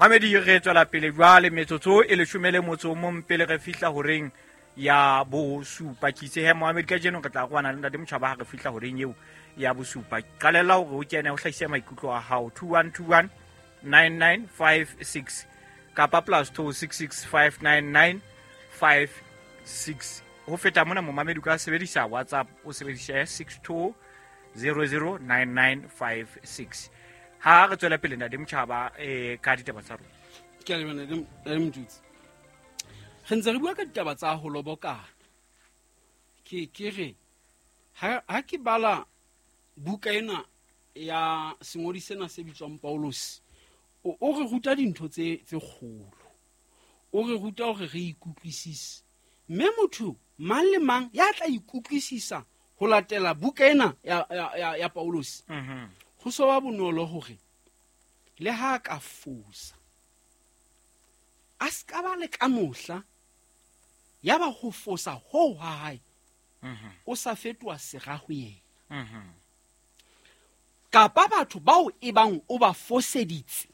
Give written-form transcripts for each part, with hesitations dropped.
Mamedi, re tswela pele jwale, metsotso e 18 pele re fihla horeng ya bosupa. Ke itse he momamedi, kajeno re tla roana le ntate Motjhaba ha re fihla horeng eo ya bosupa. Qalella hore o kene o hlahise maikutlo a hao, 2121 9956 kapa +266 599 56. Ho feta mona, momamedi, o ka sebedisa WhatsApp, o sebedise 62 009956. Ha re tswela pele, ntate Motjhaba, ka ditaba tsa rona. Ke a leboha, ntate Motutsi. Re ntse re bua ka ditaba tsa ho lobokana. Ke re ha ke bala buka ena ya sengodi sena se bitswang Paulus, o re ruta dintho tse kgolo, o re ruta hore re ikutlwisise, mme motho mang le mang ya tla ikutlwisisa ho latela buka ena ya Paulus, ho so ba bonolo hore le ha ka fosa, a se ka ba le ka mohla ya ba ho fosa hoo ha hae o sa fetoha sera ho yena, kapa batho bao e bang o ba foseditse,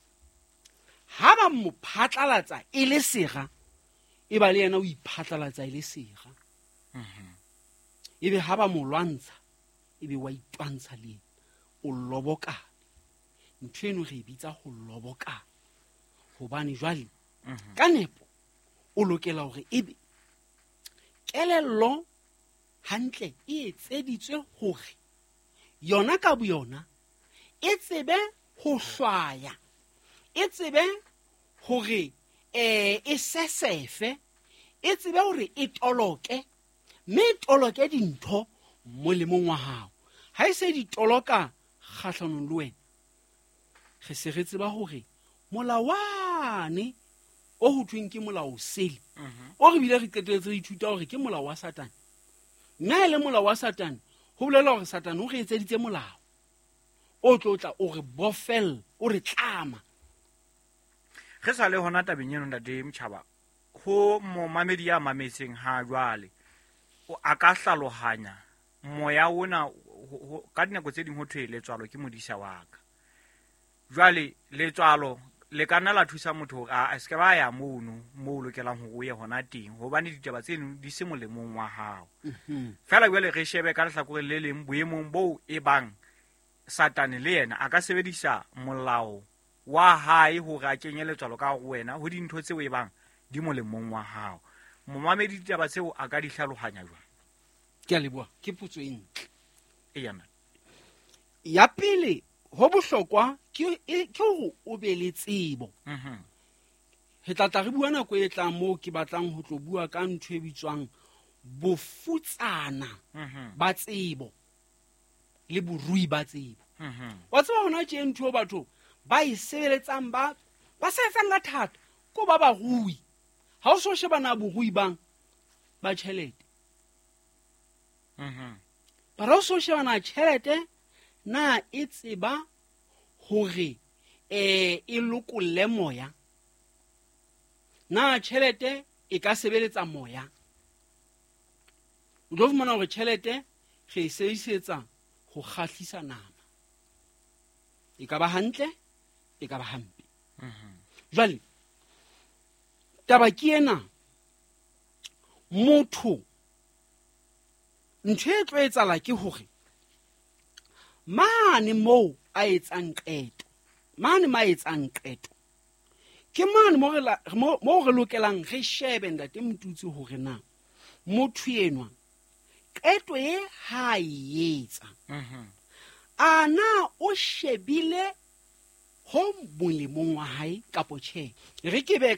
ha ba mo phatlalatsa e le sera, e ba le yena o iphatlalatsa e le sera, ebe ha ba mo lwantsha, ebe wa itwantsha le yena, o lobokane. Ntho eno re e bitsa ho lobokana, hobane jwale ka nepo o lokela hore ebe kelello hantle e etseditswe hore yona ka boyona e tsebe ho hlwaya, e tsebe hore e sesefe, e tsebe hore e toloke, mme e toloke dintho molemong wa hao. Ha e se di toloka kgahlanong le wena, re se re tseba hore molawane o ho thweng ke molao sele, o re bile re qetelletse re ithuta hore ke molao wa Satane, mme ha e le molao wa Satane, ho bolela hore Satane o re etseditse molao o tlo tla o re bofella, o re tlama. Re sa le hona tabeng eno, ntate Motjhaba, ho momamedi ya mametseng ha jwale, a ka hlalohanya moya ona ka dinako tse ding ho thwe letswalo ke modisa wa ka. Jwale letswalo le ka nna la thusa motho hore a se ke ba ya mono moo o lokelang hore o ye hona teng, hobane ditaba tseno di se molemong wa hao. Feela jwale re shebe ka lehlakoreng le leng, boemong boo e bang Satane le yena a ka sebedisa molao wa hae hore a kenye letswalo ka ho wena ho dintho tseo e bang di molemong wa hao. Momamedi, ditaba tseo a ka di hlalohanya jwang? Ke a leboha, ke potso e ntle. Eya, nna. Ya pele ho bohlokwa ke hore o be le tsebo. Re tla tla re bua nako e tlang moo ke batlang ho tlo bua ka ntho e bitswang bofutsana ba tsebo le borui ba tsebo. Wa tseba hona tje ntho eo batho ba e sebeletsang, ba sebetsang ka thata ko ba barui. Ha o so shebana borui bang ba tjhelete, bara o so shebana tjhelete na e tseba hore e lokolle moya, na tjhelete e ka sebeletsa moya. O tlo fumana hore tjhelete re e sebedisetsa ho kgahlisa nama, e ka ba hantle, e ka ba hampe. Jwale taba ke ena, motho ntho e tlo etsahala ke hore mane moo a etsang qeto, mane ma etsang qeto ke mane mo re lokelang re shebe, ntate Motutsi, hore na motho enwa qeto e ha e etsa, a na o shebile ho molemong wa hae kapo tjhe. Re ke be